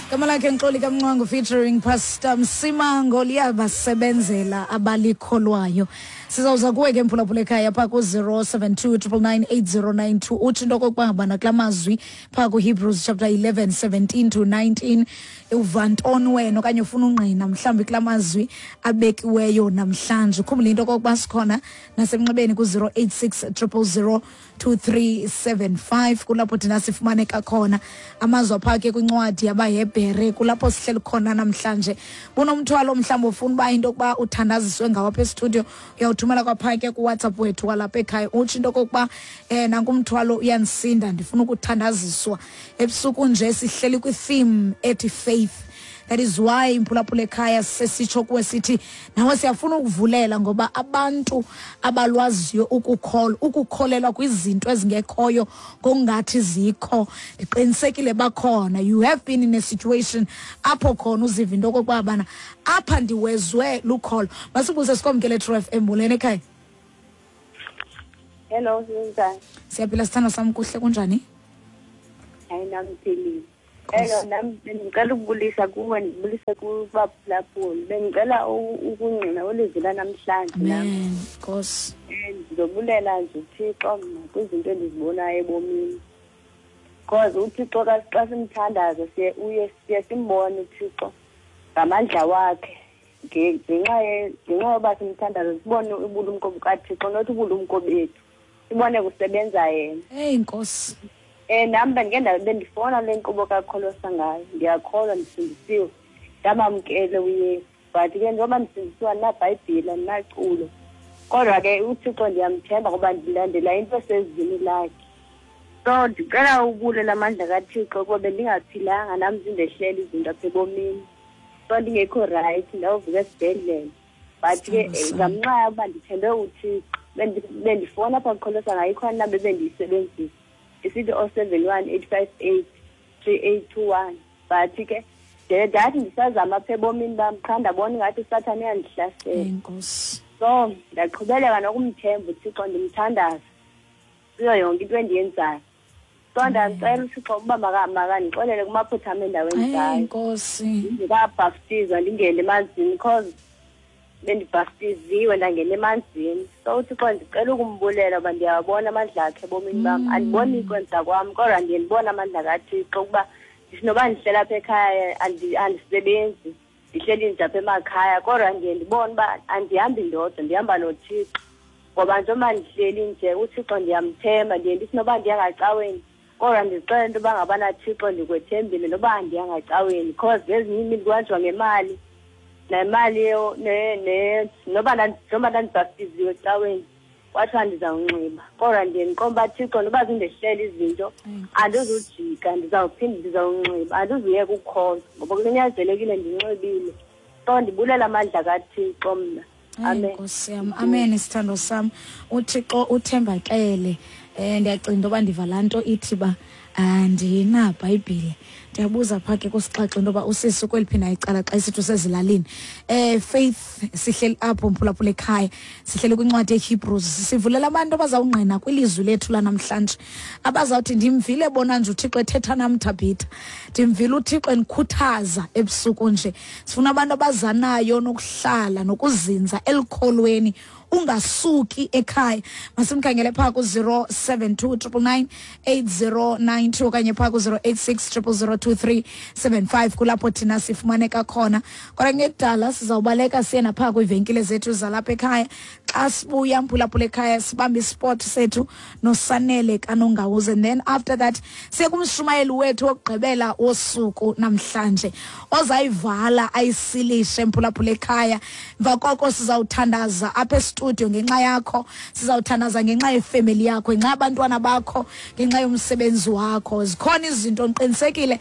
Gama lakhe Nxoli kaMncwango featuring Pastor Msimango, liyabasebenzela abalikholwayo. Sizawuza kuwe ke mphulaphula ekhaya phaa ku-072 999 8092, utsho into okokuba ngabana kula mazwi phaa kuHebrews chapter 11 17 to 19 uva ntoni wena, okanye ufuna ungqina mhlawumbi kula mazwi abekiweyo namhlanje. Ukhumbule into okokuba sikhona nasemnxebeni ku-086 000 2375, kulapho thina sifumaneka khona. Amazwi apha ke kwincwadi yabaHebhere, kulapho sihleli khona namhlanje. Bunomthwalo mhlawumbi ufuna uba into yokuba uthandaziswe ngawo apha estudio, uyawuthumela kwapha ke kuWhatsApp wethu walapha ekhaya, utsho into okokuba nanku umthwalo uyandisinda, ndifuna ukuthandaziswa. Ebusuku nje sihleli kwi-theme ethi faith. That is why imphulaphula ekhaya sesitsho kuwe sithi nawe siyafuna ukuvulela, ngoba abantu abalwaziyo ukukholwa, ukukholelwa kwizinto ezingekhoyo ngokungathi zikho, ndiqinisekile bakhona. You have been in a situation apho khona uziva into okokuba bana apha ndiwezwe lukholo. Masibuze sikomkele True FM. Molweni ekhaya. Hello, sinjani? Siyaphila sithando sam, kuhle, kunjani? Hayi, nami ngiphilile. Hello, nami bengicela ukubulisa kuwe, ndibulise kubaphulaphuli. Bengicela ukungqina ulizwi lanamhlanje nami. Amen. Nkosi. Ndizobulela nje uThixo mna kwizinto endizibonayo ebomini. Because uThixo xa simthandaza siye uye siye simbone uThixo ngamandla wakhe. Ngenxa yoba simthandaza sibone ubulumko bukaThixo, not ubulumko bethu. Sibone kusebenza yena. Hey Nkosi. Nami bendike bendifona le nkqubo kaKholosa ngayo. Ndiyakholwa ndisindisiwe. Ndamamkele uYesu. But ke njengoba ndisindisiwe andinabhayibhile, andinaculo. Kodwa ke uThixo ndiyamthemba ngoba ndilandela into esezwini lakhe. So ndicela ubulela amandla kaThixo kuba bendingaphilanga nam zindehlela izinto apha ebomini. So ndingekho right, ndawuvuka esibhedlele. But ke Sithando sam. ngamnxa yokuba ndithembe uThixo, bendifona apha kuKholosa ngayo, ikhona inamba ebendiyisebenzisa. Isithi 071 858 3821. But ke ndathi ndisazama apha ebomini bam, qha ndabona ingathi uSathane uyandihlasela. Enkosi. So ndaqhubeleka nokumthemba uThixo, ndimthandaza kuyo yonke into endiyenzayo. So ndamcela uThixo ukuba makandixolele kumaphutha am endaweni Hey, zayo. Nkosi. Ndingekabhaptizwa ndingene emanzini, because bendibhaptiziwe ndangena emanzini. So uThixo ndicela ukumbulela uba ndiyawabona amandla akhe ebomini bam. Andiboni kwenza kwam, kodwa ndiye ndibone amandla kaThixo ukuba ndithi noba ndihlela apha ekhaya andisebenzi, ndihleli nje apha emakhaya, kodwa ndiye ndibone uba andihambi ndodwa, ndihamba noThixo. Ngoba njengoba ndihleli nje uThixo ndiyamthemba, ndiye ndithi noba ndiya ngacaweni, kodwa ndizixelela into yoba ngabana Thixo ndikwethembile noba andiya ngacaweni, because ngezinye iimini kuhanjwa ngemali, nemali noba njengoba ndandibhaptiziwe ecaweni kwathiwa ndizawunxiba, kodwa ndiye ndiqonde uba Thixo noba zindehlela izinto andizujika, ndizawuphinda ndizawunxiba, andizuyeka ukukholwa ngoba kunyanzelekile ndinxibile. So ndibulela amandla kaThixo mna. Amen. Amen. Nkosi yam. Amen, sithando sam. uThixo uthembakele. Ndiyacinga into yoba ndiva laa nto ithi ba andinabhayibhile. Ndiyabuza phaa ke kusixaxa into yoba usisi kweliphi na icala xa isithi usezilalini. Faith, sihleli apho mphulaphula ekhaya, sihleli kwincwadi yeHebrews, sivulela abantu abazawungqina kwilizwi lethu lanamhlanje, abazawuthi ndimvile bona nje uThixo ethetha nam Thabitha, ndimvile uThixo endikhuthaza ebusuku nje. Sifuna abantu abazanayo nokuhlala nokuzinza elukholweni, ungasuki ekhaya. Masimkhangele phaa ku-072 999 8092 okanye phaa ku-086 000 2375, kulapho thina sifumaneka khona. Kodwa ngekudala sizawubaleka siye naphaa kwiivenkile zethu zalapha ekhaya. Xa sibuya mphulaphula ekhaya sibambe ispot sethu noSanele kaNongawuze, and then after that siye kumshumayeli wethu wokugqibela wosuku namhlanje ozayivala ayisilishe mphulaphula ekhaya. Emva koko sizawuthandaza apha estudio ngenxa yakho, sizawuthandaza ngenxa yefemeli yakho, ngenxa yabantwana bakho, ngenxa yomsebenzi wakho. Zikhona izinto ndiqinisekile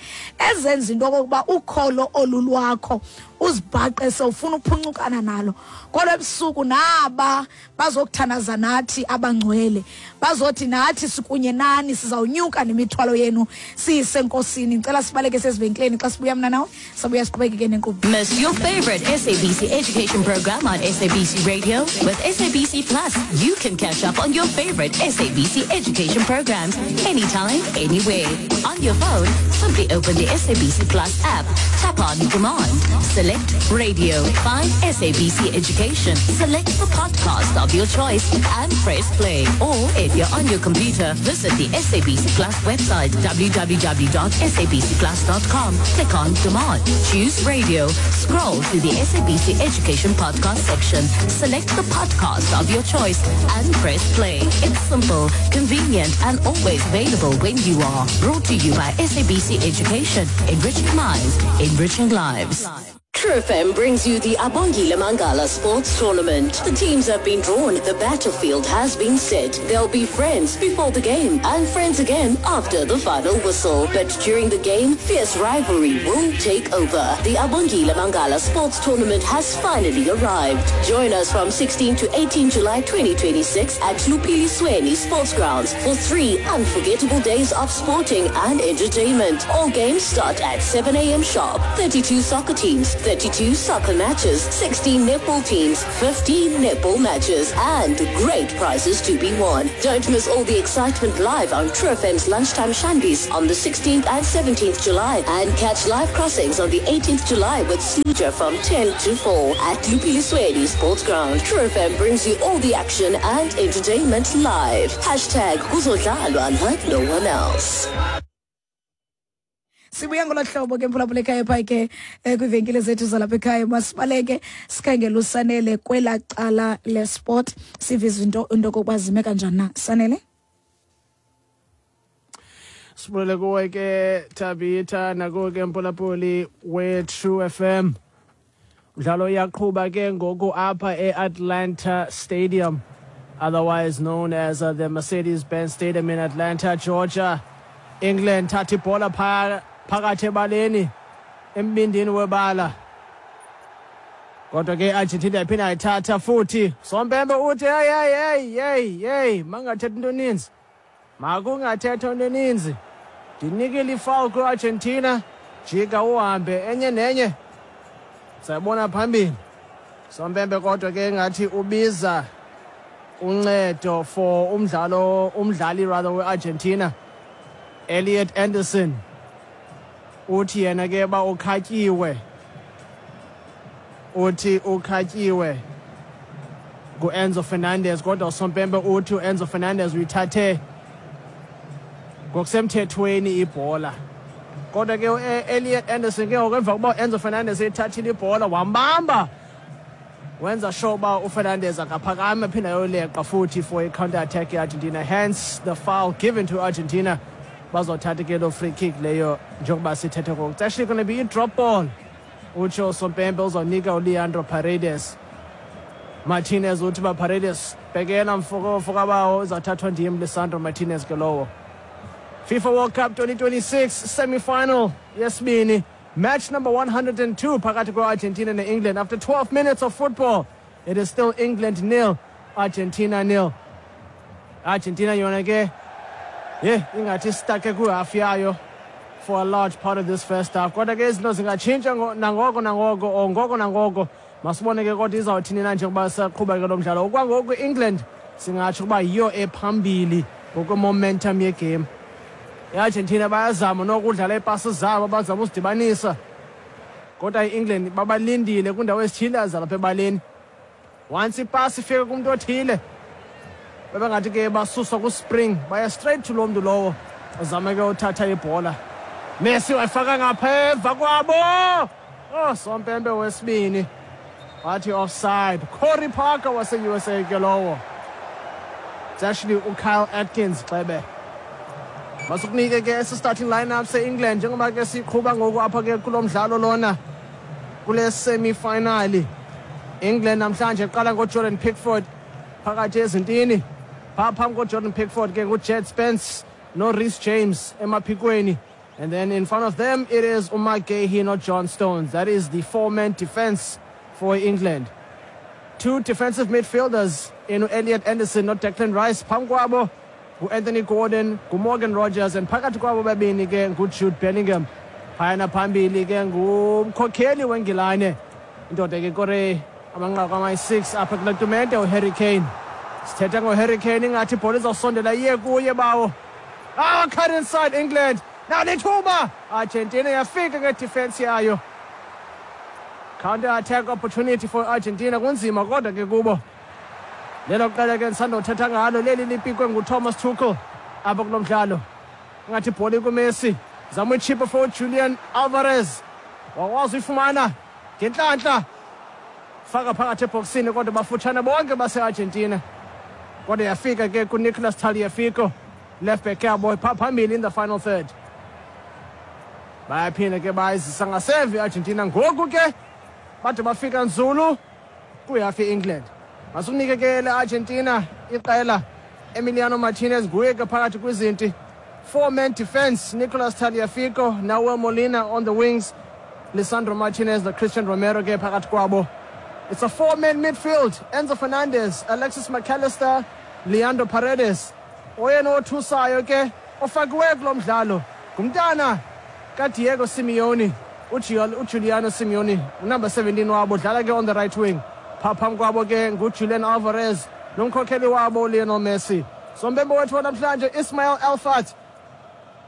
ezenza into okokuba ukholo olu lwakho uzibhaqe sewufuna uphuncukana nalo. Kodwa ebusuku naba pha bazokuthandaza nathi abangcwele, bazothi nathi sikunye nani, sizawunyuka nemithwalo yenu siyise enkosini. Ndicela sibaleke sezivenkileni, xa sibuya mna nawe sabuya siqhubekeke nenkqubo. Miss your favorite SABC education program on SABC Radio? With SABC Plus, you can catch up on your favorite SABC education programs anytime, anywhere. On your phone, simply open the SABC Plus app, tap on Demand, select Radio, find SABC Education, select the podcast of your choice and press play. Or if you're on your computer, visit the SABC Plus website, www.sabcplus.com. Click on Demand, choose Radio, scroll to the SABC Education podcast section, select the podcast of your choice and press play. It's simple, convenient and always available when you are. Brought to you by SABC Education, enriching minds, enriching lives. True FM brings you the Abongile Mangala Sports Tournament. The teams have been drawn, the battlefield has been set. They'll be friends before the game and friends again after the final whistle. But during the game, fierce rivalry will take over. The Abongile Mangala Sports Tournament has finally arrived. Join us from 16 to 18 July 2026 at Lupilisweni Sports Grounds for 3 unforgettable days of sporting and entertainment. All games start at 7 a.m. sharp. 32 soccer teams, 32 soccer matches, 16 netball teams, 15 netball matches, and great prizes to be won. Don't miss all the excitement live on True FM's Lunchtime Shandies on the 16th and 17th July, and catch live crossings on the 18th July with Sluja from 10 to 4 at Lupilisweni Sports Ground. True FM brings you all the action and entertainment live. Hashtag Kuzodlalwa like no one else. Sibuya ngolo hlobo ke mphulaphula ekhaya phaa ke kwiivenkile zethu zalapha ekhaya. Masibaleke sikhangele uSanele kwelaa cala lesport, sive izinto into okokuba zime kanjani na. Sanele? Sibulele kuwe ke Tabitha, nakuwe ke mphulaphuli we-True FM. Umdlalo uyaqhuba ke ngoku apha e-Atlanta Stadium, otherwise known as the Mercedes-Benz Stadium in Atlanta, Georgia. England thatha ibhola phakathi ebaleni, embindini webala. Kodwa ke Argentina yaphinda yayithatha futhi. Sompempe uthi hey hey hey hey hey, mangathetha into eninzi. Makungathethwa into eninzi. Ndinikile ifoul kwi-Argentina, jika uhambe enye nenye. Sayibona phambili. Sompempe kodwa ke ngathi ubiza uncedo for umdlali rather we-Argentina, Elliot Anderson. Uthi yena ke ba ukhatyiwe. Uthi ukhatyiwe nguEnzo Fernandez, kodwa uSompempe uthi uEnzo Fernandez uyithathe ngokusemthethweni ibhola. Kodwa ke uElliot Anderson ke ngoku emva kokuba uEnzo Fernandez eyithathile ibhola wambamba, wenza sure uba uFernandez akaphakame aphinda ayoleqa futhi for i-counter attack ye-Argentina. Hence the foul given to Argentina. Bazothatha ke loo free kick leyo njengoba sithethe ngoku. It's actually going to be i-drop ball. Utsho Sompempe uzawunika uLeandro Paredes. Martinez uthi uba Paredes bhekela mfokabawo, uzawuthathwa ndim Lisandro Martinez ke lowo. FIFA World Cup 2026 semi-final yesibini, match number 102 phakathi kwe-Argentina ne-England. After 12 minutes of football, it is still England 0, Argentina 0. Argentina yona ke ingathi stuck kwihafu yayo for a large part of this first half. Kodwa ke izinto zingatshintsha nangoko nangoko or ngoko nangoko. Masibone ke kodwa izawuthini na njengoba saqhuba ke lo mdlalo. Okwangoku England singatsho ukuba yiyo ephambili ngokwe-momentum yegame. I-Argentina bayazama nokudlala iipasi zabo, bazama uzidibanisa. Kodwa i-England babalindile kwindawo ezithile zalapha ebaleni. Once ipasi ifika kumntu othile, bebengathi ke basuswa ku-spring, baya straight to lo mntu lowo uzame ke uthatha ibhola. Messi wayifaka ngapha emva kwabo. Oh, Sompempe wesibini wathi offside. Corey Parker wase-USA ke lowo. It's actually uKyle Atkins xebe. Masukunike ke esi starting lineup se-England njengoba ke siqhuba ngoku apha ke kulo mdlalo lona kule semi-final. England namhlanje iqala ngoJordan Pickford phakathi ezintini. Phaa phambi koJordan Pickford ke nguJed Spence noReece James emaphikweni. And then in front of them it is Umar Guehi noJohn Stones. That is the four-man defense for England. Two defensive midfielders in Elliot Anderson noDeclan Rice. Phambi kwabo ngu-Anthony Gordon, nguMorgan Rogers and phakathi kwabo babini ke nguJude Bellingham. Phayana phambili ke ngumkhokheli weNgilane, indoda ke kore amanqaku amayi-6 apha kule tumente, uHarry Kane. Sithetha ngoHarry Kane, ingathi ibhola izawusondela iye kuye bawo. Cut inside England. Nalithuba Argentina yafika ngedefense yayo. Counter attack opportunity for Argentina, kunzima kodwa ke kubo. Lelo qela ke ndisandothetha ngalo leli lipikwe nguThomas Tuchel apha kulo mdlalo. Ingathi ibhola ikuMessi, zama uyichipa for Julian Alvarez, wakwazi uyifumana ngentlantla, faka phakathi ebhoksini kodwa bafutshane bonke base-Argentina. Kodwa yafika ke kuNicolas Tagliafico, left back yabo phaa phambili in the final third. Bayaphinda ke bayizisa ngasemva i-Argentina, ngoku ke bade bafika nzulu kwihafu i-England. Masikunike ke le Argentina iqela, Emiliano Martinez nguye ke phakathi kwizinti. Four-man defense, Nicolas Tagliafico, Nahuel Molina on the wings, Lisandro Martinez no-Christian Romero ke phakathi kwabo. It's a four-man midfield, Enzo Fernandez, Alexis McAllister, Leandro Paredes. Oyena othusayo ke ofakiweyo kulo mdlalo ngumntana kaDiego Simeone, uJuliano Simeone, unumber 17 wabo, udlala ke on the right wing. Phaa phambi kwabo ke nguJulian Alvarez nomkhokheli wabo Lionel Messi. Sombembe wethu wanamhlanje Ismail Elfat,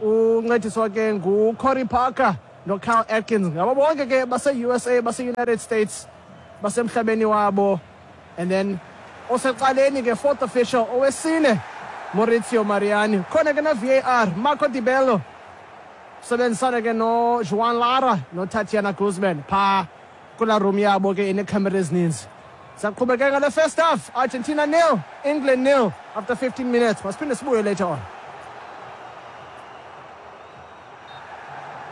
uncediswa ke nguCorey Parker noKyle Atkins. Ngabo bonke ke base-USA, base-United States, basemhlabeni wabo. And then osecaleni ke fourth official owesine Maurizio Mariani. Khona ke na-VAR Marco Di Bello, sebenzisana ke no-Juan Lara no-Tatiana Guzman phaa kulaa room yabo ke ineekhamera ezininzi. Saqhubekeka ngale first half, Argentina 0, England 0 after 15 minutes. Masiphinde sibuye later on.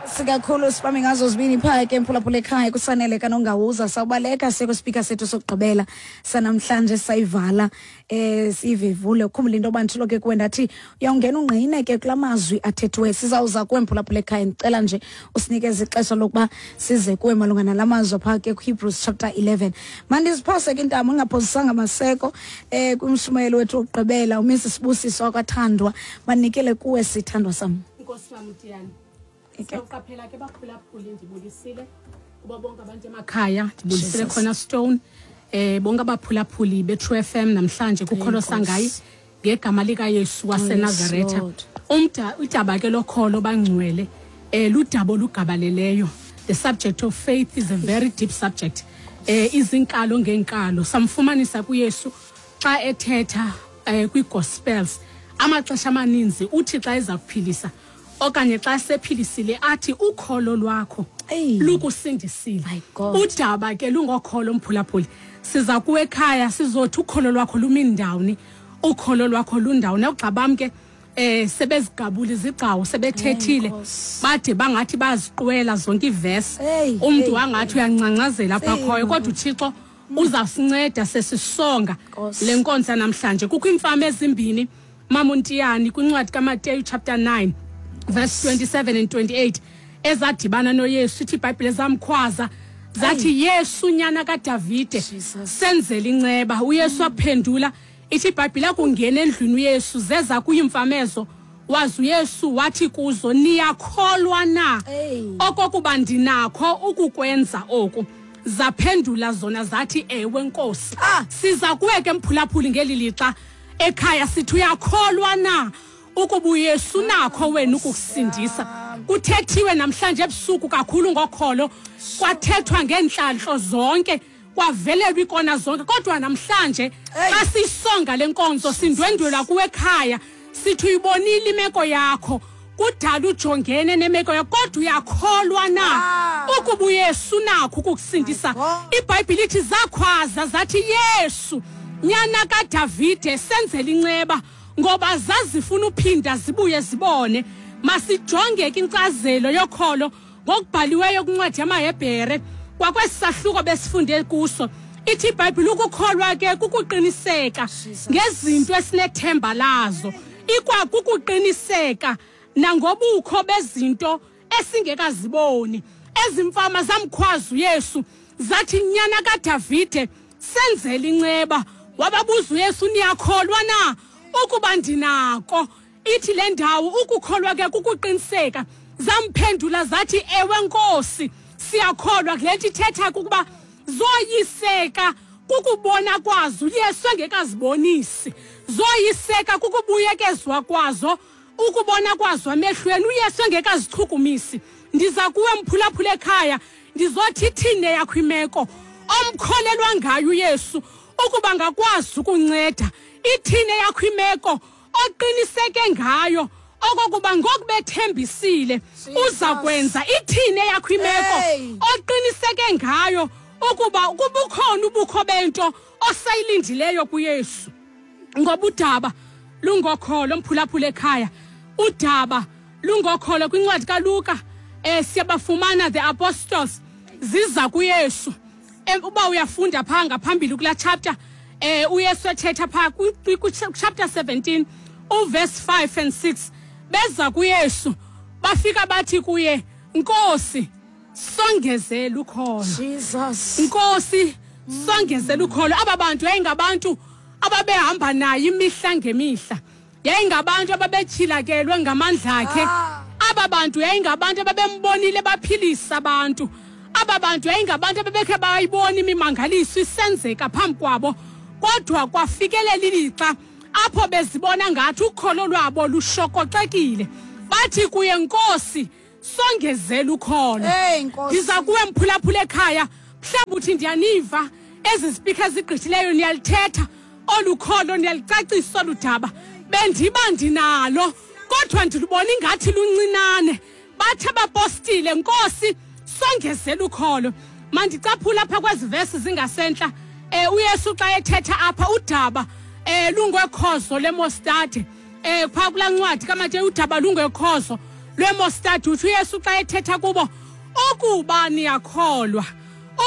Sikakhulu sibambe ngazo zibini phaa ke mphulaphula ekhaya kusanele kanongawuza sawubaleka siye kwispeaker sethu sokugqibela sanamhlanje, sayivala siyivevule. Ukhumbule into yoba nditshilo ke kuwe ndathi uyawungena ungqine ke kula mazwi athethiweyo. Sizawuza kuwe mphulaphula ekhaya, ndicela nje usinikeze ixesha lokuba size kuwe malunga nala mazwi phaa ke kwiHebrews chapter 11. Mandiziphose ke intamo ndingaphozisanga maseko kwimshumayelo wethu wokugqibela, uMrs Sibusiso wakwaThandwa. Banikele kuwe, sithandwa sam. Inkosi Mamtiyane. Siyawuqaphela ke baphulaphuli, ndibulisile kubo bonke abantu emakhaya, ndibulisile khona Stone, bonke abaphulaphuli be-True FM namhlanje kukholo sangayi ngegama likaYesu waseNazaretha. Lord. Umda udaba ke lokholo bangcwele ludaba olugabaleleyo. The subject of faith is a very deep subject. Izinkalo ngenkalo samfumanisa kuYesu xa ethetha kwi-gospels. Amaxesha amaninzi uthi xa eza kuphilisa okanye xa sephilisile athi ukholo lwakho Eyi. lukusindisile. My God. Udaba ke lungokholo mphulaphuli. Siza kuwe ekhaya sizothi ukholo lwakho lumi ndawoni, ukholo lwakho lundawoni. Ugxa bam ke sebezigabula izigcawu, sebethethile Nkosi. bade bangathi baziqwela zonke iivesi, Hey, umntu hey, wangathi uyancancazela apha Hey, khoyo, kodwa uThixo uzawusinceda sesisonga Nkosi. le nkonzo namhlanje. Kukho iimfama ezimbini, Mamuntiyani, kwincwadi kaMateyu chapter 9 verse 27 and 28 ezadibana noYesu. Ithi iBhayibhile zamkhwaza zathi, "Yesu, nyana kaDavide, Jesus. senzele inceba." UYesu aphendula, ithi iBhayibhile akungena endlwini uYesu zeza kuye iimfamezo, waze uYesu wathi kuzo, "Niyakholwa na Hey. okokuba ndinakho ukukwenza oku?" Zaphendula zona zathi, "Ewe, Nkosi." Siza kuwe ke mphulaphuli ngeli lixa ekhaya sithi uyakholwa na ukuba uYesu nakho wena ukukusindisa? Kuthethiwe namhlanje ebusuku kakhulu ngokholo, kwathethwa ngeentlantlo zonke, kwavelelwa ikona zonke, kodwa namhlanje xa sisonga le nkonzo sindwendwelwa kuwe ekhaya sithi uyibonile imeko yakho, kudala ujongene nemeko yakho, kodwa uyakholwa na ukuba uYesu nakho ukukusindisa? IBhayibhile ithi zakhwaza zathi, "Yesu, nyana kaDavide, senzele inceba," ngoba zazifuna uphinda zibuye zibone. Masijonge ke inkcazelo yokholo ngokubhaliweyo kwincwadi yamaHebhere kwakwesi sahluko besifunde kuso. Ithi iBhayibhile ukukholwa ke kukuqiniseka ngezinto esinethemba lazo, ikwakukuqiniseka nangobukho bezinto esingekaziboni. Ezimfama zamkhwaza uYesu zathi, "Nyana kaDavide, Senzele inceba. Wababuza uYesu, niyakholwa na ukuba ndinako? Ithi le ndawo ukukholwa ke kukuqiniseka. Zamphendula zathi, ewe Nkosi, siyakholwa. Kule nto ithetha kukuba zoyiseka kukubona kwazo uYesu engekazibonisi, zoyiseka kukubuyekezwa kwazo ukubona kwazo emehlweni uYesu engekazichukumisi. Ndiza kuwe mphulaphula ekhaya, ndizothi ithini yakho imeko omkholelwa ngayo uYesu ukuba ngakwazi ukunceda, ithini yakho imeko oqiniseke ngayo okokuba ngokubethembisile uza kwenza, ithini yakho imeko oqiniseke ngayo ukuba kubukhona ubukho bento osayilindileyo kuYesu. Ngoba udaba lungokholo, mphulaphula ekhaya, udaba lungokholo. Kwincwadi kaLuka siyabafumana the apostles ziza kuYesu. Uba uyafunda phaa ngaphambili kulaa chapter, uYesu ethetha phaa chapter 17 uverse 5 and 6, beza kuYesu bafika bathi kuye, Nkosi, songezela ukholo. Jesus. Nkosi, songezela ukholo. Aba bantu yayingabantu ababehamba naye imihla ngemihla, yayingabantu ababetyhilakelwe ngamandla akhe. Aba bantu yayingabantu ababembonile baphilisa abantu. Aba bantu yayingabantu ababekhe bayibona imimangaliso isenzeka phambi kwabo, kodwa kwafikelela ilixa apho bezibona ngathi ukholo lwabo lushokoxekile. Bathi kuye, Nkosi, songezela ukholo. Ndiza kuwe mphulaphula ekhaya, mhlawumbi uthi ndiyaniva ezi zipikha zigqithileyo, niyalithetha olu kholo, niyalicacisa olu daba, bendiba ndinalo kodwa ndilubona ingathi luncinane. Bathe abapostile, Nkosi, songezela ukholo. Mandicaphula apha kwezi vesi zingasentla. uYesu xa ethetha apha udaba lungekhozo lemostade, phaa kulaa ncwadi kaMateyu, udaba lungekhozo lwemostade. Uthi uYesu xa ethetha kubo, ukuba niyakholwa,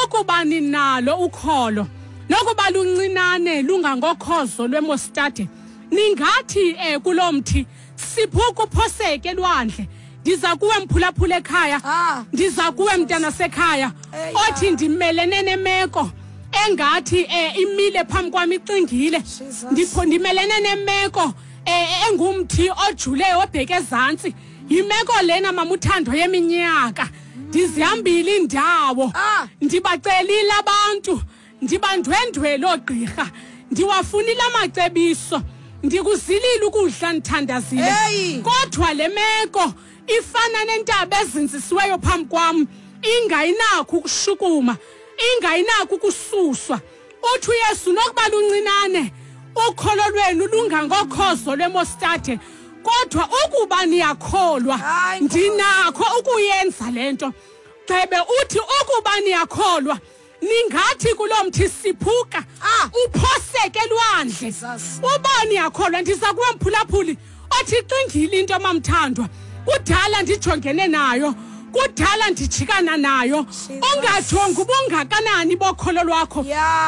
ukuba ninalo ukholo, nokuba luncinane lungangokhozo lwemostade, ningathi kulo mthi, siphuka uphoseke elwandle. Ndiza kuwe mphulaphula ekhaya, ndiza kuwe mntana sekhaya othi ndimelene nemeko engathi imile phambi kwami ixingile, ndimelene nemeko engumthi ojule obheke ezantsi. Yimeko lena mamuthando yeminyaka, ndizihambile indawo, ndibacelile abantu, ndibandwendwele oogqirha, ndiwafunile amacebiso, ndikuzilile ukudla ndithandazile, kodwa le meko ifana nentaba ezinzisiweyo phambi kwam, ingayinakho ukushukuma, ingayinakho ukususwa. Uthi uYesu, nokuba luncinane ukholo lwenu lungangokhozo lwemostade, kodwa ukuba niyakholwa ndinakho ukuyenza le nto. Gxebe uthi ukuba niyakholwa ningathi kulo mthi, siphuka uphoseke elwandle. Uba niyakholwa. Ndiza kuwe mphulaphuli othi xingile into mamthandwa, kudala ndijongene nayo, kudala ndijikana nayo. Ungajongi ubungakanani bokholo lwakho,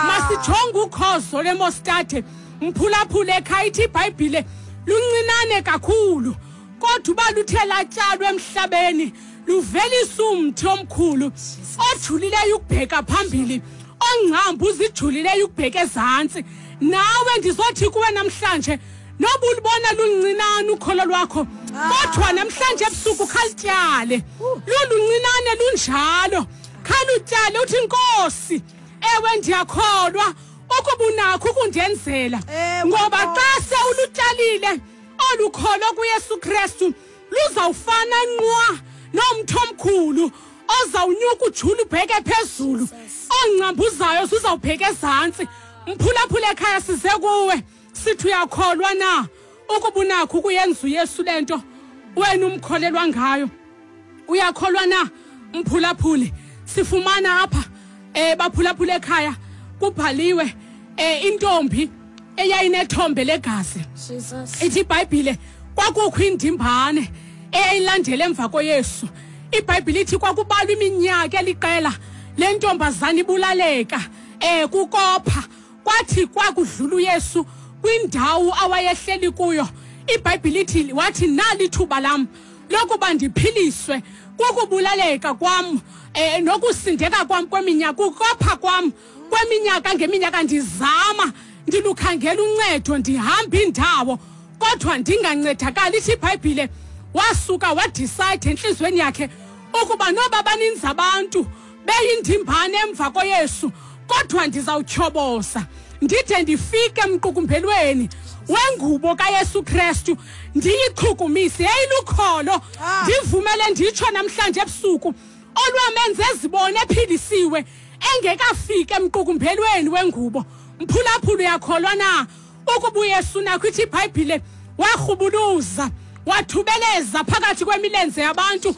masijonge ukhozo lwemostade mphulaphula ekhaya. Ithi iBhayibhile luncinane kakhulu, kodwa uba luthe latyalwa emhlabeni luvelisa umthi omkhulu ojulileyo ukubheka phambili, ongcambu uzijulileyo ukubheka ezantsi. Nawe ndizothi kuwe namhlanje, noba ulubona luncinane ukholo lwakho, kodwa namhlanje ebusuku khalityale, luluncinane lunjalo, khalutyale uthi, Nkosi, ewe ndiyakholwa ukuba unakho ukundenzela. Ngoba xa sewulutyalile olu kholo kuYesu Kristu, luzawufana nqwa nomthi omkhulu ozawunyuka ujule ubheke phezulu, ongcambuzayo zuzawubheka ezantsi. Mphulaphula ekhaya, size kuwe sithi uyakholwa na ukuba unakho ukuyenza uYesu le nto wena umkholelwa ngayo? Uyakholwa na mphulaphuli? Sifumana apha baphulaphula ekhaya, kubhaliwe intombi eyayinethombe legazi. Ithi iBhayibhile kwakukho indimbane eyayilandela emva koYesu. IBhayibhile ithi kwakubalwa iminyaka eliqela le ntombazana ibulaleka kukopha. Kwathi kwakudlula uYesu kwindawo awayehleli kuyo, iBhayibhile ithi wathi, nali ithuba lam lokuba ndiphiliswe kukubulaleka kwam, nokusindeka kwam kweminyaka, ukopha kwam Kweminyaka ngeminyaka ndizama, ndilukhangela uncedo, ndihamba iindawo, kodwa ndingancedakali. Ithi iBhayibhile wasuka wadicide entliziyweni yakhe ukuba noba baninzi abantu beyindimbane emva koYesu, kodwa ndizawutyhoboza ndide ndifike emqukumbelweni wengubo kaYesu Kristu, ndiyichukumise. Yayilukholo. Ndivumele nditsho namhlanje ebusuku, olwamenza ezibone ephilisiwe engekafiki emqukumbelweni wengubo. Mphulaphula, uyakholwa na ukuba uYesu nakho? Ithi iBhayibhile warhubuluza, wathubeleza phakathi kwemilenze yabantu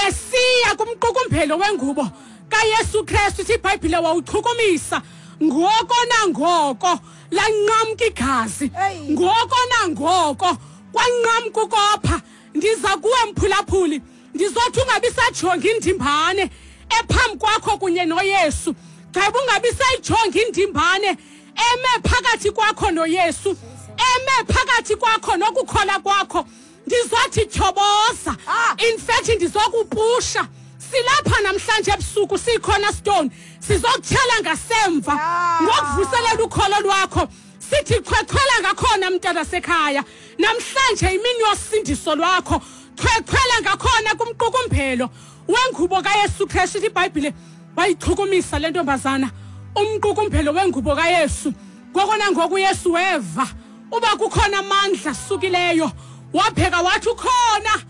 esiya kumqukumbelo wengubo kaYesu Kristu. Ithi iBhayibhile wawuchukumisa, ngoko nangoko lanqamka igazi, ngoko nangoko kwanqamka ukopha. Ndiza kuwe mphulaphuli, ndizothi ungabi sajonga indimbane ephambi kwakho kunye noYesu. Gqiba ungabi sayijonga indimbane eme phakathi kwakho noYesu, eme phakathi kwakho nokukhola kwakho. Ndizothi tyhoboza. In fact, ndizokupusha. Silapha namhlanje ebusuku siyiCornerstone, sizokutyhala ngasemva ngokuvuselela ukholo lwakho. Sithi chwechwela ngakhona, mntana sekhaya. Namhlanje imini yosindiso lwakho. Chwechwela ngakhona kumqukumbelo wengubo kaYesu Kristu. Ithi iBhayibhile wayichukumisa le ntombazana umqukumbelo wengubo kaYesu. Ngoko nangoku uYesu weva uba kukhona amandla asukileyo, wapheka wathi, "Ukhona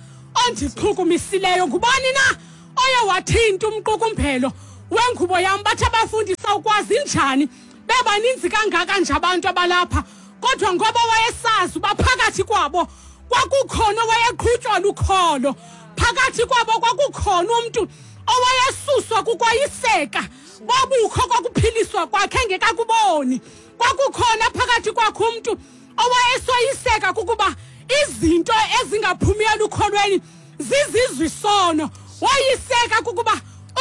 ondichukumisileyo. Ngubani na oye wathinta umqukumbelo wengubo yam?" Bathi abafundi, "Sawukwazi njani bebaninzi kangaka nje abantu abalapha?" Kodwa ngoba wayesazi uba phakathi kwabo kwakukhona owayeqhutywa lukholo, phakathi kwabo kwakukhona umntu owayesuswa kukwayiseka bobukho kokuphiliswa kwakhe engekakuboni, kwakukhona phakathi kwakhe umntu owayesoyiseka kukuba izinto ezingaphumiyo elukholweni zizizwe isono, woyiseka kukuba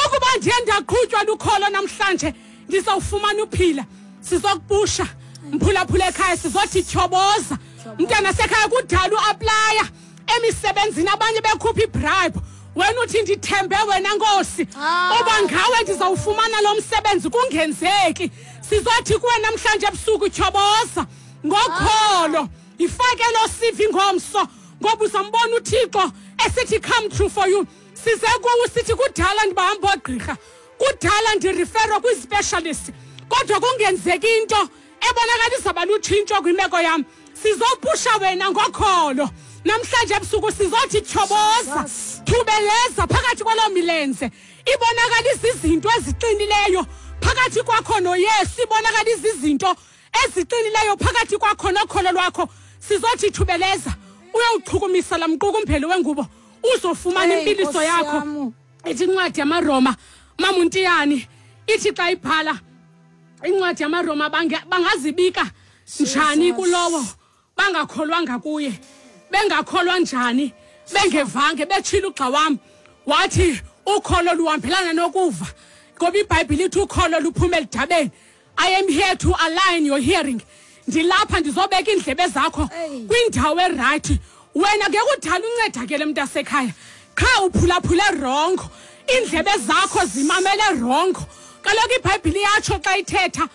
ukuba ndiye ndaqhutywa lukholo namhlanje ndizawufumana uphila. Sizokupusha, mphulaphula ekhaya, sizothi tyhoboza, mntana sekhaya. Kudala uapplya emisebenzini, abanye bekhupha ibribe, wena uthi, "Ndithembe wena Nkosi, uba ngawe ndizawufumana lo msebenzi." Kungenzeki. Sizothi kuwe namhlanje ebusuku, tyhoboza ngokholo, ifake lo CV ngomso, ngoba uzambona uThixo esithi come true for you. Size kuwe sithi kudala ndibahamba oogqirha, kudala ndireferwa kwispecialist, kodwa kungenzeki into ebonakalisa balutshintsho kwimeko yam. Sizopusha wena ngokholo namhlanje ebusuku. Sizothi tyhoboza, thubeleza phakathi kwaloo milenze, ibonakalisa izinto eziqinileyo phakathi kwakho noYesu, ibonakalisa izinto eziqinileyo phakathi kwakho nokholo lwakho. Sizothi thubeleza uyawuchukumisa laa mqukumbelo wengubo, uzofumana impiliso Nkosi yakho. Yam. Ithi incwadi yamaRoma, Mamuntiyani, ithi xa ibhala incwadi yamaRoma, bangazibika njani Jesus. kulowo bangakholwanga kuye? Bengakholwa njani bengevange? Betshila ugxa wam wathi ukholo luhambelana nokuva, ngoba iBhayibhile ithi ukholo luphuma elidabeni. I am here to align your hearing. Ndilapha ndizobeka iindlebe zakho kwindawo eright. Wena ngekudala uncedakele, mntasekhaya, qha uphulaphule wrong, iindlebe zakho zimamele wrong. Kaloku iBhayibhile iyatsho xa ithetha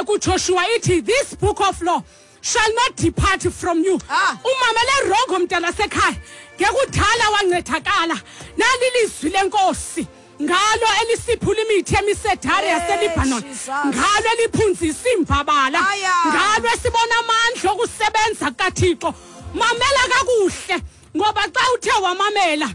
kuJoshua, ithi, "This book of law shall not depart from you." Umamele wrong, mntana sekhaya. Ngekudala wancedakala. Nali lizwi lenkosi, ngalo elisiphula imithi emisedari yaseLibanon, Jesus. ngalo eliphunzisa iimbabala, Aya. ngalo esibona amandla okusebenza kukaThixo. Mamela kakuhle, ngoba xa uthe wamamela,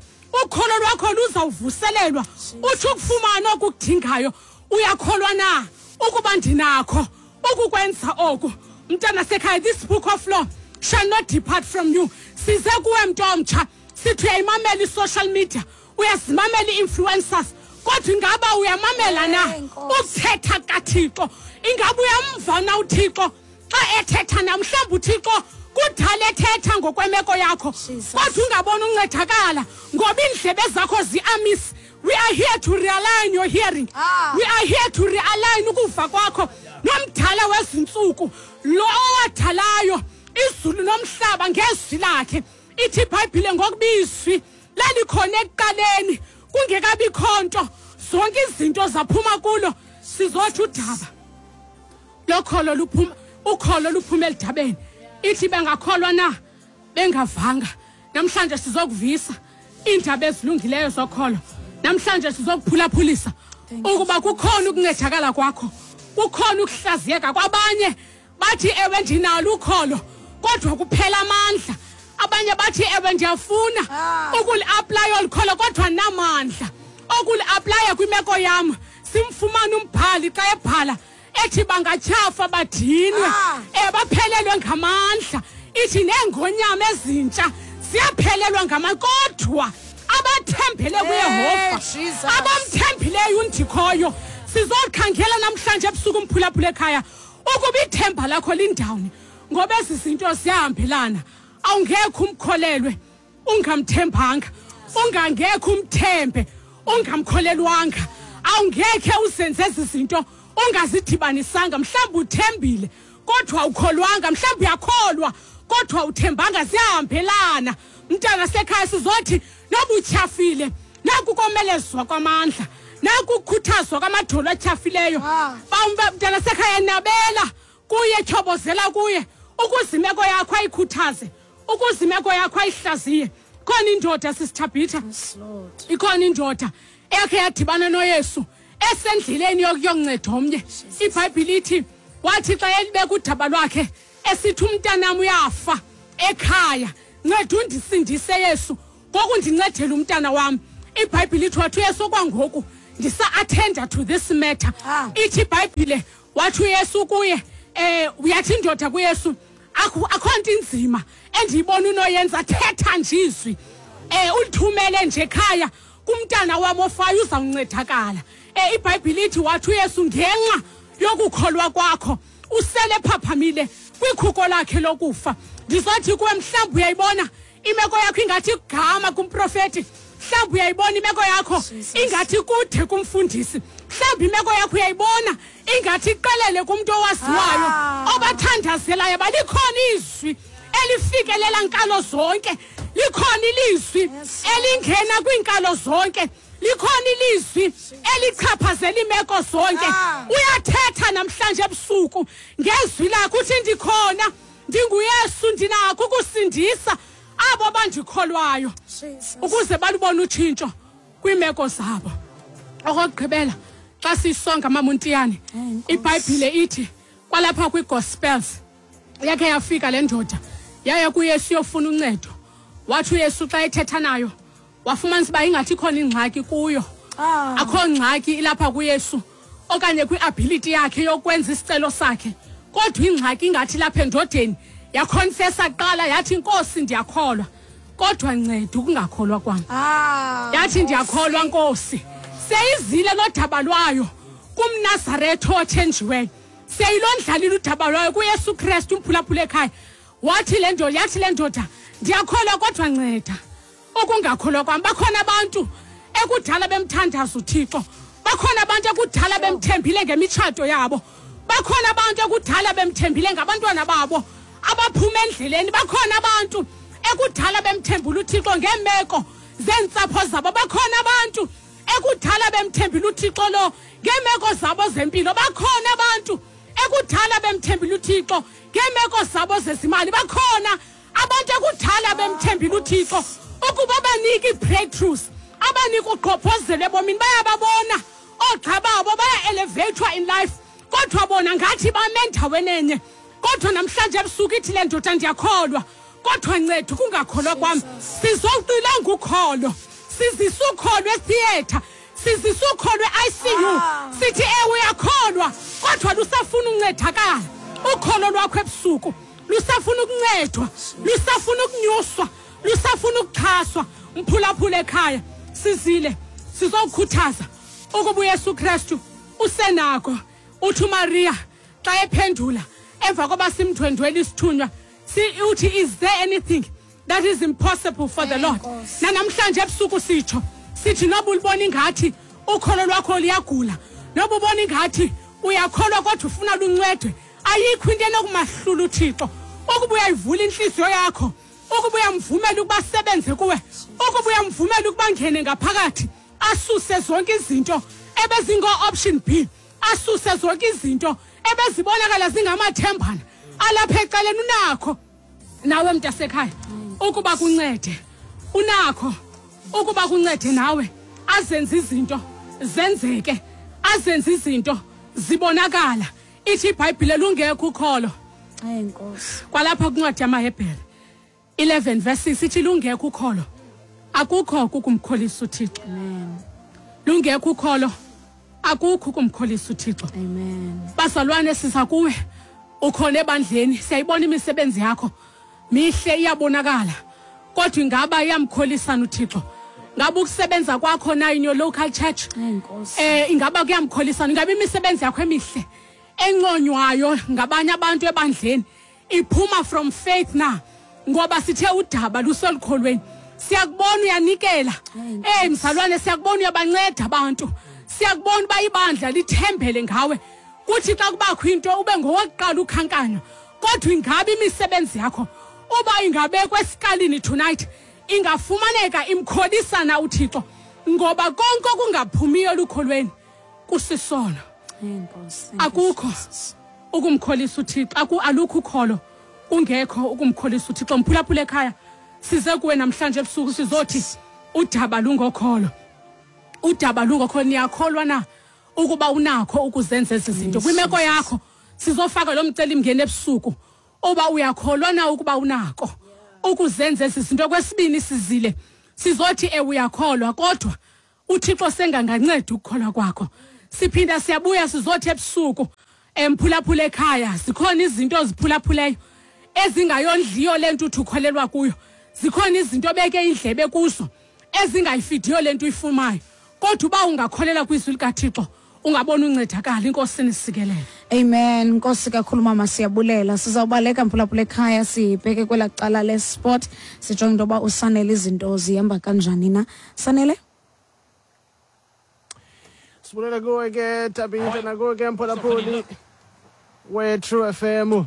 ukholo lwakho luzawuvuselelwa, utsho ukufumana okukudingayo. Uyakholwa na ukuba ndinakho ukukwenza oku, mntana sekhaya? This book of law shall not depart from you. Size kuwe, mntu omtsha, sithi uyayimamela i-social media, uyazimamela ii-influencers, kodwa ingaba uyamamela na Hey, Nkosi. ukuthetha kaThixo? Ingaba uyamva na uThixo xa ethetha na? Mhlawumbi uThixo kudala ethetha ngokwemeko yakho, Jesus. kodwa ungabona uncedakala ngoba iindlebe zakho zi-amiss. We are here to realign your hearing. We are here to realign ukuva kwakho nomdala wezintsuku, lo owadalayo izulu nomhlaba ngezwi lakhe. Ithi iBhayibhile, ngokubizwi lalikhona ekuqaleni, kungekabikho nto, zonke izinto zaphuma kulo. Sizothi udaba Lokholo luphuma, ukholo luphuma elidabeni. Ithi bengakholwa na bengavanga. Namhlanje sizokuvisa iindaba ezilungileyo zokholo. Namhlanje sizokuphulaphulisa ukuba kukhona ukuncedakala kwakho, kukhona ukuhlaziyeka kwabanye. Bathi ewe ndinalo ukholo kodwa kuphela amandla. Abanye bathi ewe ndiyafuna ukuliaplaya olu kholo kodwa namandla okuliaplaya kwimeko yam. Simfumana umbhali xa ebhala ethi bangatyhafa badinwe, baphelelwe ngamandla. Ithi neengonyama ezintsha ziyaphelelwa ngamandla, kodwa abathembele kuYehova, abamthembileyo uNdikhoyo. Sizokhangela namhlanje ebusuku umphulaphula ekhaya ukuba ithemba lakho lindawuni, ngoba ezi zinto ziyahambelana. Awungekho umkholelwe ungamthembanga, ungangekho umthembe ungamkholelwanga, awungekhe uzenze ezi zinto ungazidibanisanga. Mhlawumbi uthembile kodwa ukholwanga, mhlawumbi uyakholwa kodwa uthembanga. Ziyahambelana. Mntana sekhaya, sizothi noba utyhafile, naku komelezwa kwamandla, naku kukhuthazwa kwamadolo atyhafileyo. Mntana sekhaya, nabela kuye, tyhobozela kuye, ukuze imeko yakho ayikhuthaze, ukuze imeko yakho ayihlaziye. Ikhona indoda, sisithabhitha, ikhona indoda eyakhe yadibana noYesu esendleleni yokuyonceda omnye. IBhayibhile ithi wathi xa elibeka udaba lwakhe esithi umntanam uyafa ekhaya, nceda undisindise Yesu ngokundincedela umntana wam. IBhayibhile ithi wathi uYesu kwangoku ndisa-attenda to this matter. Ithi iBhayibhile wathi uYesu kuye, uyathi indoda kuYesu, akho nto inzima endiyibona unoyenza, thetha nje izwi, ulithumele nje ekhaya kumntana wam ofayo, uzawuncedakala. IBhayibhile ithi wathi uYesu ngenxa yokukholwa kwakho usele phaphamile kwikhuko lakhe lokufa. Ndizothi kuwe, mhlawumbi uyayibona imeko yakho ingathi igama kumprofeti, mhlawumbi uyayibona imeko yakho ingathi kude kumfundisi, mhlawumbi imeko yakho uyayibona ingathi iqelele kumntu owaziwayo obathandazelayo. Balikhona izwi elifikelela nkalo zonke, likhona ilizwi elingena kwiinkalo zonke, likhona ilizwi elichaphazela iimeko zonke. Uyathetha namhlanje ebusuku ngezwi lakho, uthi ndikhona, ndinguYesu, ndinakho ukusindisa abo bandikholwayo ukuze balubone utshintsho kwiimeko zabo. Okokugqibela, xa siyisonga maMontiyane, iBhayibhile ithi kwalapha kwiGospels yakhe yafika le ndoda yaya kuYesu yofuna uncedo. Wathi uYesu xa ethetha nayo wafumanisa uba ingathi ikhona ingxaki kuyo. Akho ngxaki ilapha kuYesu okanye kwi-ability yakhe yokwenza isicelo sakhe, kodwa ingxaki ingathi lapha endodeni. Yakhonfesa kuqala yathi, Nkosi ndiyakholwa, kodwa nceda ukungakholwa kwam. Yathi ndiyakholwa Nkosi. Seyizile nodaba lwayo kumNazaretha othenjiweyo, seyilondlalile udaba lwayo kuYesu Kristu umphulaphula ekhaya. Wathi le ndoda, yathi le ndoda ndiyakholwa kodwa nceda ukungakholwa kwam. Bakhona abantu ekudala bemthandaza uThixo, bakhona abantu ekudala bemthembile ngemitshato yabo, bakhona abantu ekudala bemthembile ngabantwana babo abaphuma endleleni, bakhona abantu ekudala bemthembula uThixo ngeemeko zeentsapho zabo, bakhona abantu ekudala bemthembile uThixo lo ngeemeko zabo zempilo, bakhona abantu ekudala bemthembile uThixo ngeemeko zabo zezimali, bakhona abantu ekudala bemthembile uThixo ukuba banike ii-breakthroughs, abanike uqhophozelo ebomini. Bayababona oogxa babo baya-elevatwa in life, kodwa bona ngathi bame endaweni enye. Kodwa namhlanje ebusuku ithi le ndoda ndiyakholwa, kodwa nceda ukungakholwa kwam. Sizowuxilonga ukholo, sizisa ukholo etheatre, sizisa ukholo e-ICU. Sithi ewe uyakholwa, kodwa lusafuna uncedakala ukholo lwakho ebusuku, lusafuna ukuncedwa, lusafuna ukunyuswa, lusafuna ukuxhaswa. Mphulaphula ekhaya, sizile sizokukhuthaza ukuba uYesu Kristu usenako. Uthi uMaria xa ephendula emva koba simndwendwela isithunywa, uthi is there anything that is impossible for the Lord? Nanamhlanje ebusuku sitsho sithi noba ulibona ingathi ukholo lwakho liyagula, noba ubona ingathi uyakholwa kodwa ufuna luncedwe, ayikho into enokumahlula uThixo. Ukuba uyayivula inhliziyo yakho, ukuba uyamvumela ukuba asebenze kuwe, ukuba uyamvumela ukuba angene ngaphakathi, asuse zonke izinto ebezingo-option B, asuse zonke izinto Ebezibonakala zingamathembana alapha ecaleni. Unakho nawe mntasekhaya ukuba kuncede, unakho ukuba kuncede nawe azenze izinto zenzeke, azenze izinto zibonakala. Ithi iBhayibhile lungekho ukholo. Hayi Nkosi. Kwalapha kwincwadi yamaHebhere 11 verse 6 ithi lungekho ukholo akukho kukumkholisa uThixo. Amen. Lungekho ukholo akukho ukumkholisa uThixo. Amen. Bazalwane, siza kuwe, ukhona ebandleni, siyayibona imisebenzi yakho mihle, iyabonakala, kodwa ingaba iyamkholisana uThixo? Ngabe ukusebenza kwakho na in your local church, Hayi Nkosi. Ingaba kuyamkholisana? Ingaba imisebenzi yakho emihle enconywayo ngabanye abantu ebandleni iphuma from faith na? Ngoba sithe udaba luselukholweni. Siyakubona uyanikela, mzalwane, siyakubona uyabanceda abantu, siyakubona uba ibandla lithembele ngawe, kuthi xa kubakho into ube ngowokuqala ukhankanywa. Kodwa ingabe imisebenzi yakho uba ingabekwa esikalini tonight ingafumaneka imkholisana uThixo? Ngoba konke okungaphumiyo elukholweni kusisono. Hayi Nkosi. Akukho ukumkholisa uThixo, alukho ukholo kungekho ukumkholisa uThixo. Mphulaphula ekhaya, size kuwe namhlanje ebusuku sizothi udaba lungokholo, udaba lungokholo. Niyakholwa na ukuba unakho ukuzenza ezi zinto kwimeko yakho? Sizofaka lo mcelimngeni ebusuku, uba uyakholwa na ukuba unako ukuzenza ezi zinto. Kwesibini sizile sizothi uyakholwa, kodwa uThixo senganganceda ukukholwa kwakho. Siphinda siyabuya sizothi ebusuku, emphulaphula ekhaya, zikhona izinto oziphulaphuleyo ezingayondliyo lento uthi ukholelwa kuyo, zikhona izinto obeke indlebe kuzo ezingayifidiyo lento uyifumayo, kodwa uba ungakholelwa kwizwi likaThixo ungabona uncedakala. Inkosi nisikelele. Amen. Nkosi kakhulu mama, siyabulela. Sizawubaleka mphulaphula ekhaya sibheke kwelaa cala lesport, sijonge into yoba uSanele izinto zihamba kanjani na. Sanele? Sibulela kuwe ke Tabitha, nakuwe ke mphulaphuli we-True FM.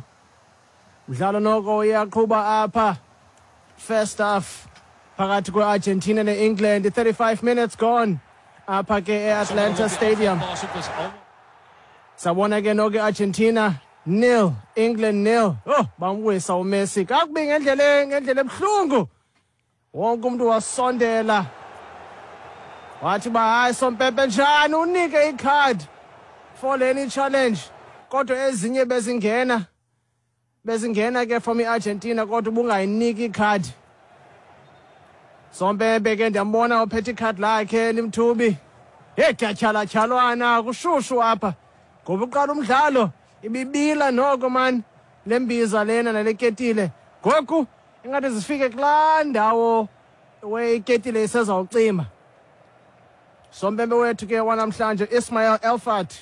Mdlalo noko uyaqhuba apha, first half phakathi kwe-Argentina ne-England, 35 minutes gone apha ke e-Atlanta Stadium. Sabona ke noko i-Argentina 0, England 0. Oh, bamwisa uMessi kakubi ngendlela ebuhlungu. Wonke umuntu wasondela wathi ba hayi sompempe njani unike ikhadi for leni challenge, kodwa ezinye bezingena ke from iArgentina, kodwa ubungayiniki ikhadi. Sompempe ke ndiyambona uphethe ikhadi lakhe limthubi. Hey, kuyatyhalatyhalwana kushushu apha ngoba uqala umdlalo ibibila noko man lembiza lena naleketile. Ngoku ingathi zifike kulaa ndawo weyiketile isezawucima. Sompempe wethu ke wanamhlanje Ismail Elfat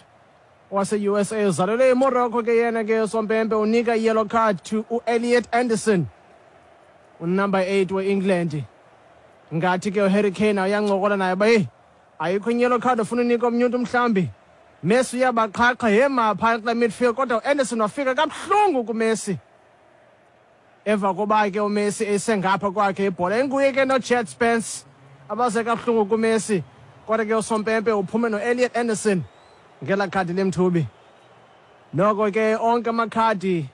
wase-USA, uzalelwe eMorocco ke yena ke. Sompempe unika i-yellow card to u-Elliot Anderson, unumber 8 we-England. Ngathi ke uHarry Kane uyancokola naye ba hey, ayikho i-yellow card ofuna unika omnye umntu mhlawumbi. Messi uyabaqhaqha yema phaya kula midfield, kodwa uAnderson wafika kabuhlungu kuMessi emva koba ke uMessi esengapha kwakhe ibhola. Enguye ke noJed Spence abaze kabuhlungu kuMessi, kodwa ke usompempe uphume noElliot Anderson ngela khadi lemthubi. Noko ke onke amakhadi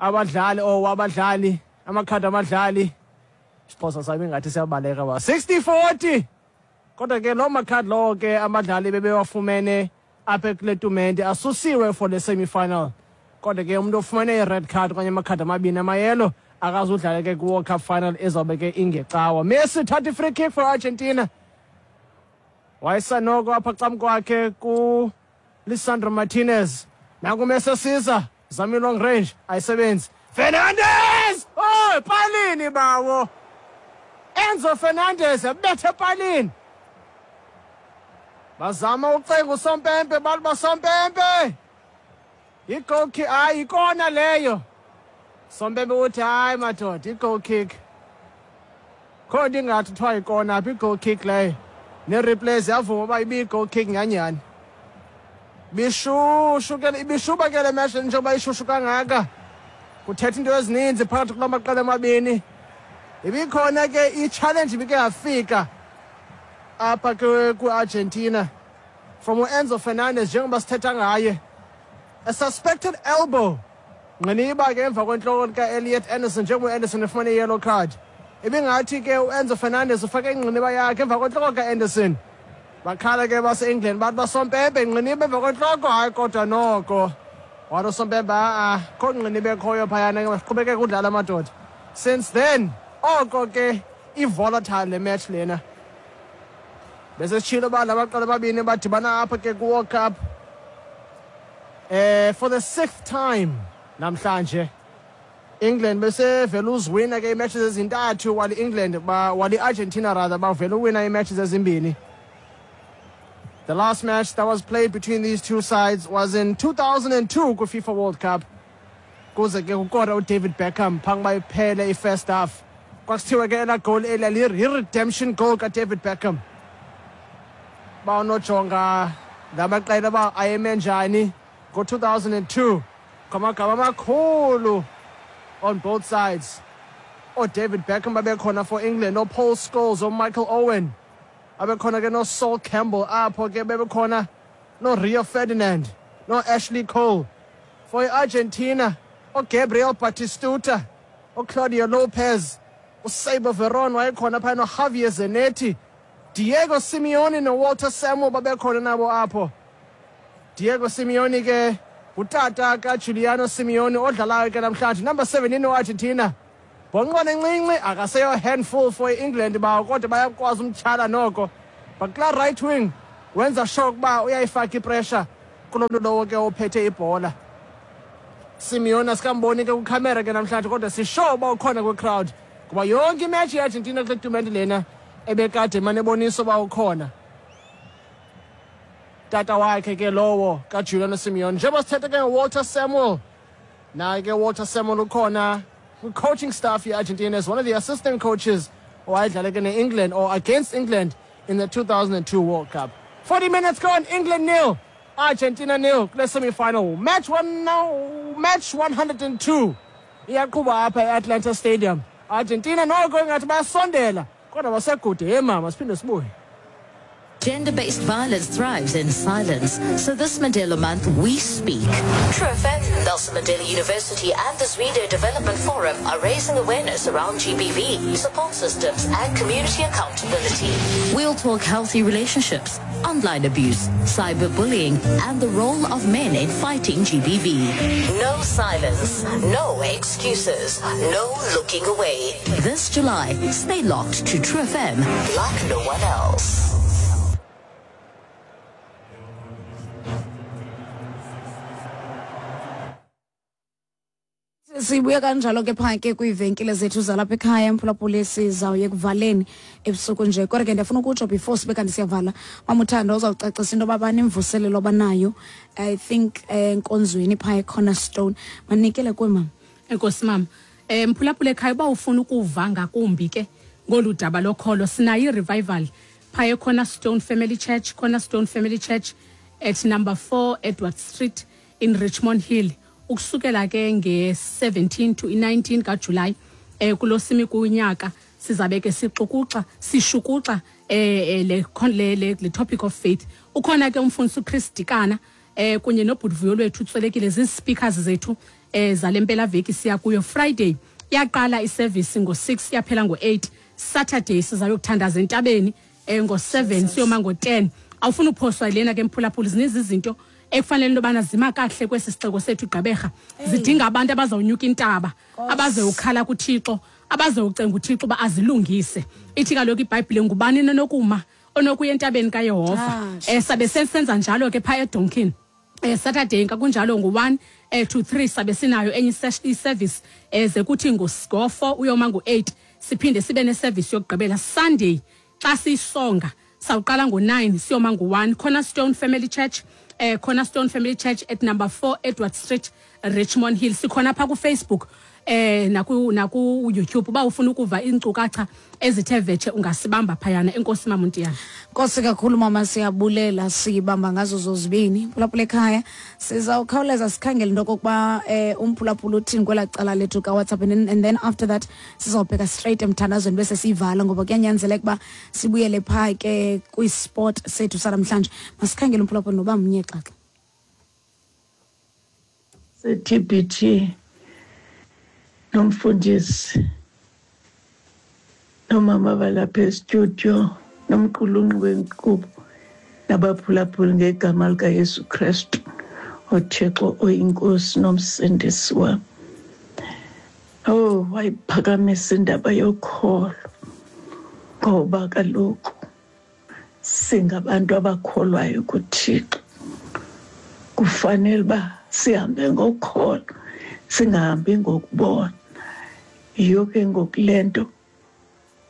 abadlali wabadlali, amakhadi abadlali, isiXhosa sami ngathi siyabaleka ba 60-40. Kodwa ke loo makhadi lowo ke abadlali bebewafumene apha kule tumente asusiwe for the semi-final. Kodwa ke umuntu ofumene i-red card okanye amakhadi amabini amayelo akazudlala ke kwi-World Cup final ezawube ke ingecawa. Messi thatha i-free kick for Argentina, wayesanoko apha cam kwakhe ku-Lisandro Martinez. Nanku Messi esiza, zama i-long range, ayisebenzi. Fernandez! Oh, epalini bawo! Enzo Fernandez ebethe epalini. Bazama ucenga usompempe, bathi basompempe. I-goal kick, hayi ikona leyo. Sompempe uthi hayi madoda, i-goal kick. Khona ingathi kuthiwa ikona apha, i-goal kick leyo. Ne-replays yavuma uba ibiyi-goal kick nyhanyhani. Bishushu ke, ibishuba ke le match njengoba ishushu kangaka. Kuthetha into ezininzi phakathi kula maqela amabini. Ibikhona ke i-challenge ibike yafika apha kwi-Argentina from uEnzo Fernandez njengoba sithetha ngaye. A suspected elbow. Ngqiniba ke emva kwentloko lika-Elliot Anderson njengoba u-Anderson efumane i-yellow card. Ibingathi ke u-Enzo Fernandez ufake ingqiniba yakhe emva kwentloko ka-Anderson. Bakhala ke base-England bathi basompempe ingqiniba emva kwentloko, hayi kodwa noko. Wathi usompempe a-a kho ngqiniba ekhoyo phayana ke masiqhubekeke udlala amadoda. Since then, oko ke i-volatile le match lena. Besesitshilo uba la maqela amabini badibana apha ke kwi-World Cup for the 6th time namhlanje. England besevele uziwina ke iimatches ezintathu, while England while i-Argentina rather bavele uwina iimatches ezimbini. The last match that was played between these two sides was in 2002 kwi-FIFA World Cup. Kuze ke kukora uDavid Beckham phambi uba iphele i-first half. Kwakuthiwa ke elaa goal elia yi-redemption goal kaDavid Beckham. Ba unojonga la maqela uba ayeme njani ngo-2002, ngamagama amakhulu on both sides. OoDavid Beckham babekhona for England, ooPaul Scholes, ooMichael Owen, abekhona ke noSol Campbell apho ke, bebekhona noRio Ferdinand, noAshley Cole. For i-Argentina, oGabriel Batistuta, oClaudio Lopez, uSeibo Veron wayekhona phaya, noJavier Zanetti, Diego Simeone noWalter Samuel babekhona nabo apho. Diego Simeone ke ngutata kaJuliano Simeone odlalayo ke namhlanje, number 17 we-Argentina. Bhonqwane encinci akaseyo handful for i-England bawo, kodwa bayakwazi umtyhala noko. But kulaa right wing wenza sure ukuba uyayifaka ipressure kulo mntu lowo ke ophethe ibhola. Simeone asikamboni ke kwikhamera ke namhlanje, kodwa sisure uba ukhona kwi-crowd ngoba yonke imatch ye-Argentina kule tumente lena ebekade emane ebonisa uba ukhona. Tata wakhe ke lowo kaJuliano Simeone. Njengoba sithetha ke ngoWalter Samuel, naye ke Walter Samuel ukhona kwi-coaching staff ye-Argentina as one of the assistant coaches owayedlala ke ne-England or against England in the 2002 World Cup. 40 minutes gone, England nil, Argentina nil kule semi-final. Match one now, match 102 iyaqhuba apha e-Atlanta Stadium. Argentina noko ingathi bayasondela kodwa basekude. Hey mama, siphinde sibuye. Gender-based violence thrives in silence. So this Mandela Month, we speak. True FM, Nelson Mandela University and the Zwide Development Forum are raising awareness around GBV, support systems and community accountability. We'll talk healthy relationships, online abuse, cyberbullying and the role of men in fighting GBV. No silence, no excuses, no looking away. This July, stay locked to True FM like no one else. Sibuye kanjalo ke phaa ke kwiivenkile zethu zalapha ekhaya, mphulaphuli, sizawuye ekuvaleni ebusuku nje. Kodwa ke ndiyafuna ukutsho before sibe kanti siyavala, Mama Uthando uzawucacisa into yoba banemvuselelo abanayo, I think, enkonzweni phaa eCornerstone. Manikele kuwe, mama. Enkosi mama. Mphulaphula ekhaya, uba ufuna ukuva ngakumbi ke ngolu daba lokholo, sinayo i-revival phaa eCornerstone Family Church, Cornerstone Family Church at number 4 Edward Street in Richmond Hill, ukusukela ke nge-17 to i-19 kaJulayi kulo simi kunyaka. Sizabe ke sixukuxa sishukuxa le topic of faith. Ukhona ke umfundisi uChris Dikana kunye nobhudivuyo lwethu utswelekile, zii-speakers zethu zale mpelaveki siya kuyo. Friday yaqala iservice ngo-6 yaphela ngo-8. Saturday sizayokuthandaza entabeni ngo-7 siyoma ngo-10. Awufuna uphoswa lena ke mphulaphuli. Zininzi izinto ekufanele into yobana zima kakuhle kwesi sixeko sethu iGqeberha, zidinga abantu abazawunyuka intaba, abazewukhala kuThixo, abazewucenga uThixo uba azilungise. Ithi kaloku iBhayibhile, ngubani nonokuma onokuya entabeni kaYehova? Sabe senza njalo ke phaa eDonkin. Saturday kunjalo ngo-1 to 3 sabe sinayo enye i-service, ze kuthi ngo-4 uyoma ngo-8 siphinde sibe neservice yokugqibela. Sunday xa siyisonga sawuqala ngo-9 siyoma ngo-1, Cornerstone Family Church, Cornerstone Family Church at number 4 Edward Street, Richmond Hill. Sikhona pha ku Facebook naku YouTube. Uba ufuna ukuva iinkcukacha ezithe vetshe ungasibamba phayana. Enkosi mama Ntiyana. Nkosi kakhulu mama, siyabulela, sibamba ngazo zozibini. Phulaphula ekhaya, sizawukhawuleza sikhangele into okokuba umphulaphula uthini kwelaa cala lethu kaWhatsApp, and then after that sizawubheka straight emthandazweni bese siyivala, ngoba kuyanyanzeleka uba sibuyele phaa ke kwisport sethu sanamhlanje. Masikhangele umphulaphula noba mnye xaxa. Se-TBT nomfundisi nomama balapha estudio nomqulunqi wenkqubo nabaphulaphuli ngegama likaYesu Kristu uThixo oyinkosi nomsindisi wam. Oh, wayiphakamisa indaba yokholo ngoba kaloku singabantu abakholwayo kuThixo. Kufanele uba sihambe ngokholo, singahambi ngokubona. Yiyo ke ngoku le nto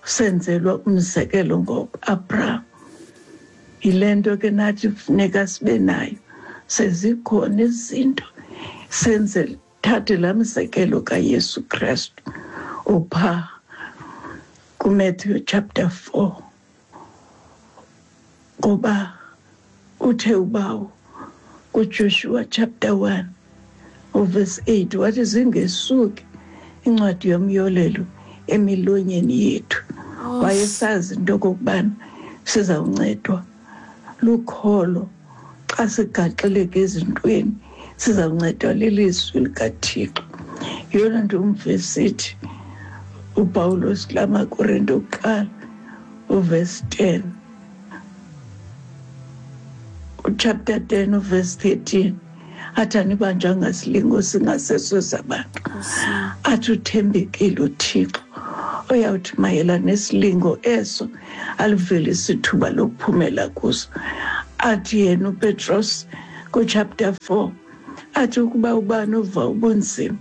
senzelwa umzekelo ngoAbraham. Yile nto ke nathi kufuneka sibe nayo. Sezikhona izinto senze thathe laa mzekelo kaYesu Kristu upha kuMatthew chapter 4 ngoba uthe ubawo kuJoshua chapter 1 uverse 8 wathi zingesuki incwadi yomyolelo emilonyeni yethu. Wayesazi into okokubana sizawuncedwa lukholo xa sigaxeleke ezintweni, sizawuncedwa lilizwi likaThixo. Yeyona nto umvesithi uPawulos kula maKorinte okuqala uverse 10, uchapter 10 uverse 13, athi anibanjwanga silingo singaseso sabantu. Athi uthembekile uThixo oyawuthi mayela nesilingo eso alivelise ithuba lokuphumela kuso. Athi yena uPetros kuchapter 4 athi ukuba ubani uva ubunzima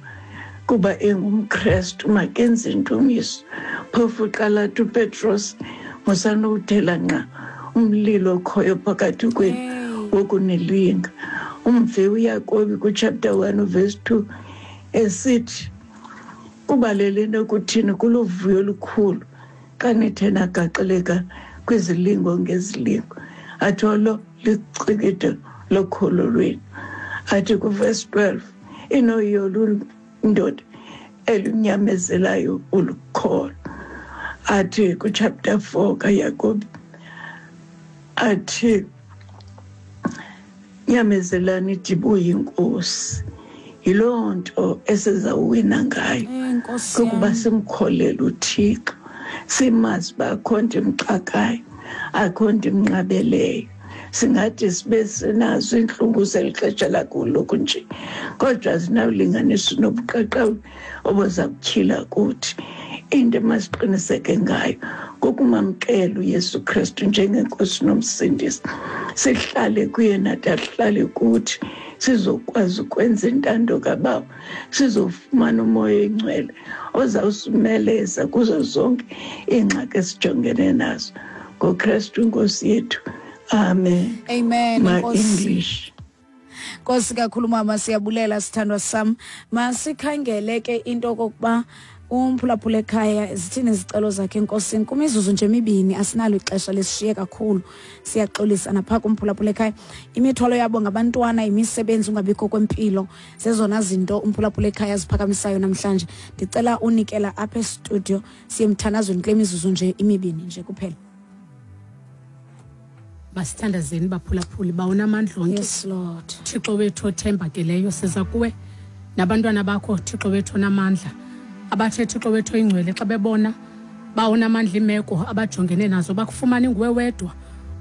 kuba engumKrestu makenze intumiso. Phofu uqala athi uPetros musanowuthela nqa umlilo okhoyo phakathi kwenu wokunilinga. Umve uYakobi kuchapter 1 verse 2 esithi kubalele nokuthini kuluvuyo olukhulu xa nithe nagaxeleka kwizilingo ngezilingo. Athi olo licikide lokholo lwenu. Athi kuverse 12 inoyolo indoda elunyamezelayo ulukholo. Athi kuchapter 4 kaYakobi athi nyamezelani idibuye inkosi. Yiloo nto esizawuwina ngayo, kukuba simkholele uThixo, simazi uba akho nto imxakayo, akho nto imnqabeleyo. Singathi sibe sinazo iintlungu zeli xesha lakuloku nje, kodwa zinawulinganiswa nobuqaqawuli obuza kutyhila kuthi. Into emasiqiniseke ngayo kukumamkela uYesu Kristu njengenkosi nomsindisi, sihlale kuye nathi ahlale kuthi, sizokwazi ukwenza intando kaBaba, sizofumana umoya oyingcwele ozawusimeleza kuzo zonke iingxaki esijongene nazo. NgoKristu inkosi yethu, amen. Amen. My English. Nkosi kakhulu mama, siyabulela sithandwa sam. Masikhangele ke into okokuba umphulaphula ekhaya zithini izicelo zakhe enkosini. Kumizuzu nje emibini, asinalo ixesha lesishiye kakhulu, siyaxolisa napha kumphulaphula ekhaya. Imithwalo yabo ngabantwana, imisebenzi, ungabikho kwempilo, zezona zinto umphulaphula ekhaya aziphakamisayo namhlanje. Ndicela unikela apha estudio siye emthandazweni kule mizuzu nje imibini nje kuphela. Masithandazeni baphulaphuli bawunamandla onke. Yes Lord. Thixo wethu othembakeleyo, siza kuwe nabantwana bakho Thixo wethu onamandla, abathe Thixo wethu oyingcwele xa bebona bawunamandla imeko abajongene nazo bakufumane nguwe wedwa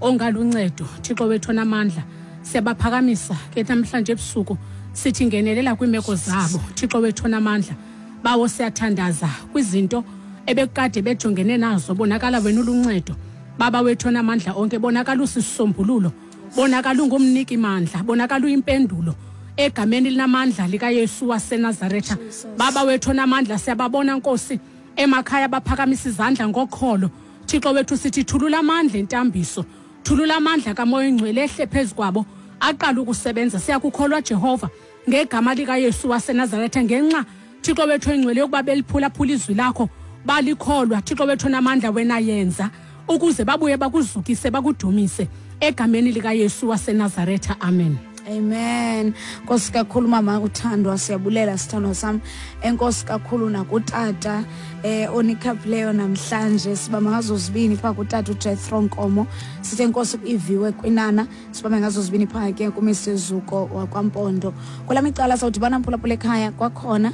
ongaluncedo. Thixo wethu onamandla, siyabaphakamisa ke namhlanje ebusuku, sithi ngenelela kwiimeko zabo Thixo wethu onamandla. Bawo siyathandaza kwizinto ebekade bejongene nazo, bonakala wena uluncedo Baba wethu onamandla onke, bonakala usisisombululo, bonakala ungumniki mandla, bonakala uyimpendulo egameni linamandla likaYesu waseNazaretha. Baba wethu onamandla, siyababona Nkosi emakhaya baphakamisa izandla ngokholo. Thixo wethu sithi thulula amandla entambiso, thulula amandla kaMoya oyingcwele ehle phezu kwabo aqala ukusebenza. Siyakukholwa Jehova ngegama likaYesu waseNazaretha, ngenxa Thixo wethu oyingcwele yokuba beliphulaphula izwi lakho balikholwa. Thixo wethu onamandla, wena yenza ukuze babuye bakuzukise bakudumise egameni likaYesu waseNazaretha, amen. Amen. Nkosi kakhulu mama uthandwa, siyabulela sithandwa sam. Enkosi kakhulu nakutata onikhaphileyo namhlanje, sibamba ngazo zibini phaa kutata uJethro Nkomo. Sithe enkosi kuiviwe kwinana, sibambe ngazo zibini phaa ke kuMr Zuko wakwaMpondo. Kwelam icala sawudibana mphulaphula ekhaya kwakhona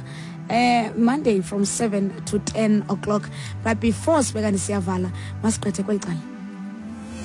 Monday from 7 to 10 o'clock. But before sibekani siyavala, masigqithe kweli cala.